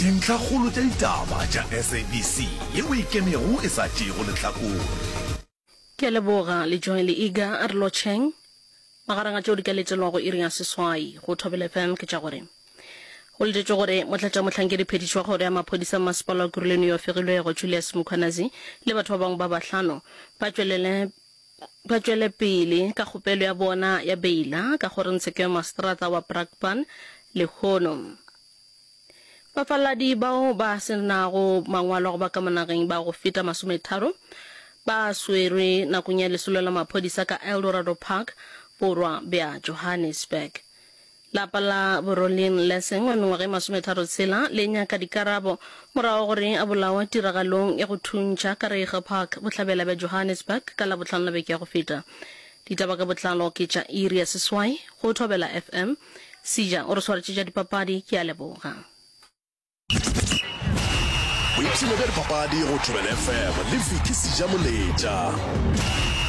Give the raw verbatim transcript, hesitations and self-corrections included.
Dintlhakgolo tša ditaba tša SABC yeo e ikemego e sa tšeego lehlakore. Ke a leboga Lejoe le Iga, a re lotšheng. Magareng a tšeo di ka letelwago iri ya seswai go Thobela FM ke tša gore go letetšwe gore motlatšamohlankedi-phetiši wa kgoro ya maphodisa mmasepala wa Kuruleni yo a fegilwego Julius Mkhwanazi le batho ba bangwe ba bahlano ba tšwelele ba tšwele pele ka kgopelo ya bona ya beila ka kgorongtsheko ya maseterata wa Brakpan lehono. Bafaladi bao ba se nago mangwalo a go ba ka mo nageng ba go feta masometharo ba swerwe nakong ya lesolo la maphodisa ka Eldorado Park, borwa bja Johannesburg. Lapa la Borolin Lessing wa mengwaga e masometharo tshela le nyaka dikarabo morago gore a bolawa tiragalong ya go thuntšha ka Reiger Park, bohlabela bja Johannesburg ka Labohlano la beke ya go feta. Ditaba ka botlalo ke tša iri ya seswai go Thobela FM. Seja o re swaretše tša dipapadi, ke a leboga. Boipshino bja dipapadi go Thobela FM le Vicky Seja Moletša.